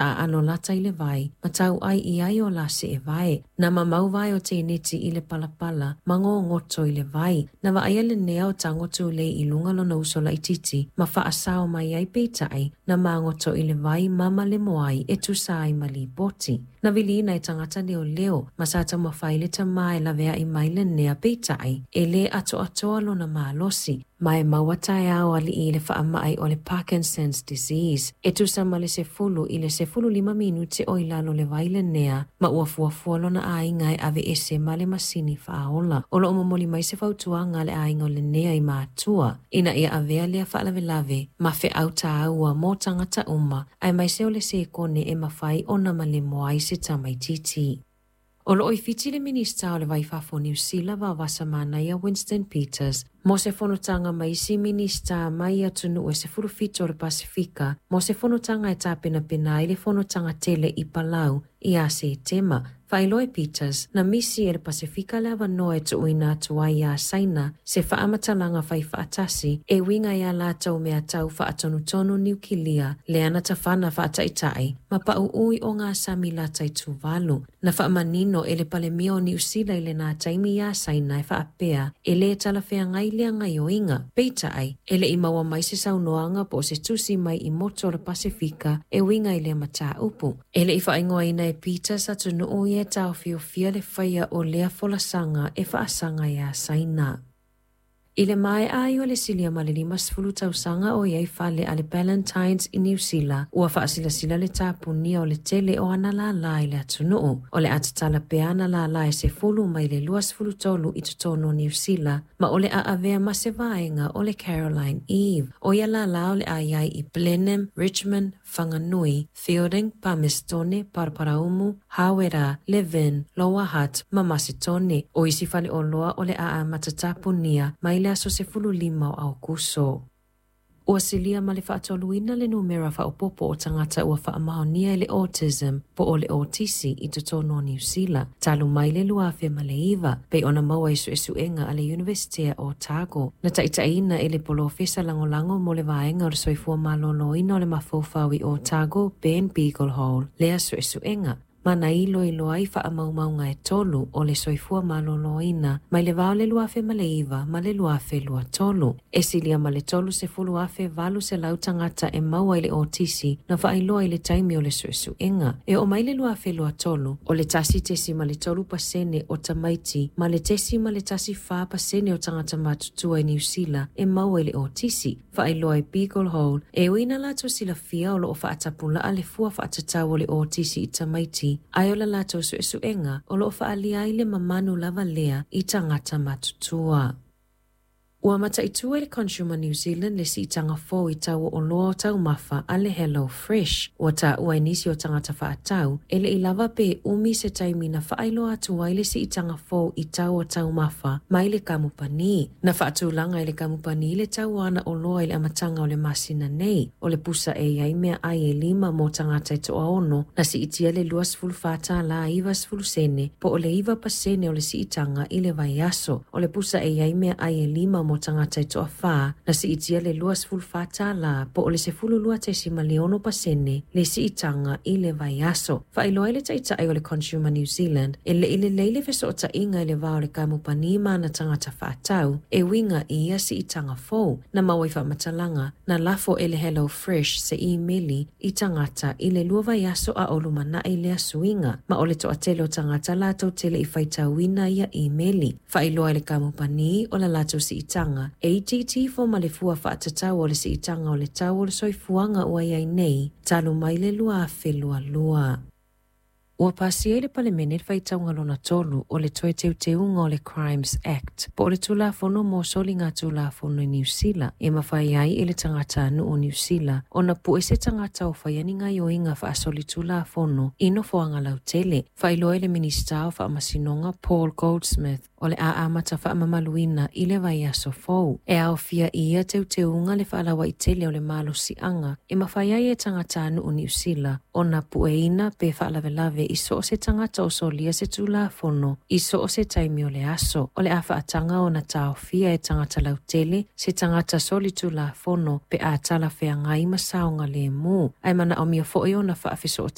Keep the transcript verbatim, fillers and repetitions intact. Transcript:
taaalo lata i le vai ma tauai i ai o la seevae. Na mamau vae o teineti i le palapala ma gogoto i le vai. Na vaaia lenea o tago tulei i luga lona uso laitiiti ma faasao mai ai peitai na magoto i le vai ma malemo ai e tusa ai ma lipoti. Na viliina e tagata leoleo ma sa taumafai le tamā e laveai mai lenea peitai e lē atoatoa lona malosi ma e maua taeao alii i le faamai o le Parkinson's disease. E tusa ma le sefulu i le sefulu lima minute o i lalo le vai lenea ma ua fuafua lona aiga e aveese ma le masini faaola. O loo momoli mai se fautuaga a le aiga o lenea i matua ina ia avea lea faalavelave ma feau tāua mo tagata uma aemaise o le sekone e mafai ona malemo ai se tamaititi. O loo i Fiti le Minista o le Vai i Fafo o Niu Sila Vaovasa Manaia Winston Peters mo se fonotaga ma isi Minista mai atunuu e sefulu fitu o le Pasifika mo se fonotaga e tapenapena ai le fonotaga tele i Palau ia Setema. Faailoa e Peters na misi e le Pasifika le avanoa e tuuina atu ai iā Saina se faamatalaga fai faatasi e uiga iā latou meatau faatonutonu niukilia lea na tafana faataitai ma pauui o gasami lata i Tuvalu. Na faamanino e le Palemia o Niu Sila i lenā taimi iā Saina e faapea e lē talafeagai lea gaioiga. Peitai e le i maua mai se saunoaga po o se tusi mai i motu o le Pasifika e uiga i lea mataupu. E le i faaigoaina e Peters atunuu ia e taofiofia le faia o lea folasaga e faasaga iā Saina. I le maea ai o le silia ma le limasefulu tausaga o i ai fale a le Ballantynes i Niu Sila, ua faasilasila le tapunia o le tele o ana lālā i le atunuu. O le a tatala pea ana lālā e sefulu mai le luasefulu tolu i totonu o Niu Sila, ma o le a avea ma se vaega o le Caroline Eve. O ia lālā o le a i ai i Blenheim, Richmond, Whanganui, Feilding, Palmerston, Paraparaumu, Hawera, Levin, Lower Hutt ma Masetone. O isi faleoloa o le a amata tapunia mai le aso sefulu lima o Aokuso. Ua silia ma le faatoluina le numera faaopoopo o tagata ua faamaonia i le autism po o le otisi i totonu o Niu Sila talu mai le lua afe ma le iva, pei ona maua i suesuega a le Iunivesitea o Otago. Na taitaiina e le polofesa lagolago mo le vaega o le soifua malōlōina o le mafaufau i Otago, Ben Beaglehole, lea suesuega ma na iloilo ai faamaumauga e tolu o le soifua malōlōina mai le va o le lua afe ma le iva ma le lua afe lua tolu. E silia ma le tolu sefulu afe valu selau tagata e maua i le otisi na faailoa i le taimi o le suesuega. E oo mai le lua afe lua tolu, o le tasi tesima le tolu pasene o tamaiti ma le tesima le tasi fa pasene o tagata matutua i Niu Sila e maua i le otisi. Faailoa e Beaglehole e ui ina latou silafia o loo faatapulaa le fua faatatau o le otisi i tamaiti, ae o la latou suesuega o loo faaalia ai le mamanu lava lea i tagata matutua. Ua mataitu e le Consumer New Zealand le siitaga fou i tau o oloa o taumafa a le Hello Fresh. Ua taua e nisi o tagata faatau e le i lava pe umi se taimi na faailoa atu ai le siitaga fou i tau o taumafa mai le kamupani. Na faatulaga e le kamupani le tau o ana oloa i le amataga o le masina nei. O le pusa e i ai meaai e lima mo tagata e toaono na siitia le luasefulu fa tālā ivasefulu sene po o le iva pasene o le siitaga i le vaiaso. O le pusa e i ai meaai e lima mo tagata e toafā na siitia le luasefulu fa tālā po o le sefulu lua tesima le ono pasene le siitaga i le vaiaso. Faailoa ai le taitai o le Consumer New Zealand e le i lelei le fesootaiga i le va o le kamupani ma ana tagata faatau e uiga i ia siitaga fou. Na maua i faamatalaga na lafo e le Hello Fresh se imeli i tagata i le lua vaiaso a o lumanai lea suiga, ma o le toatele o tagata latou te le i faitauina ia imeli. Faailoa e le kamupani o la latou siitaga e itiiti ifo ma le fua faatatau o le siitaga o le tau o le soifuaga ua i ai nei talu mai le lua afe lua lua. Ua pasia i le Palemene le faitauga lona tolu o le toe teuteuga o le Crimes Act po o le Tulafono mo Soligatulafono i Niu Sila e mafai ai e le tagatanuu o Niu Sila ona pue se tagata o faia ni gaioiga faasolitulafono i nofoaga lautele. Faailoa e le Minisita o Faamasinoga Paul Goldsmith o le a amata faamamaluina i le vaiaso fou. E aofia i ia teuteuga le faalauaitele o le malosiaga e mafai ai e tagatanuu o Niu Sila ona pueina pe faalavelave i so o se tagata o solia se tulafono i so o se taimi o le aso. O le a faataga ona taofia e tagata lautele se tagata solitulafono pe a talafeagai ma saogalemu. Ae manaomia foi ona faafesootaiga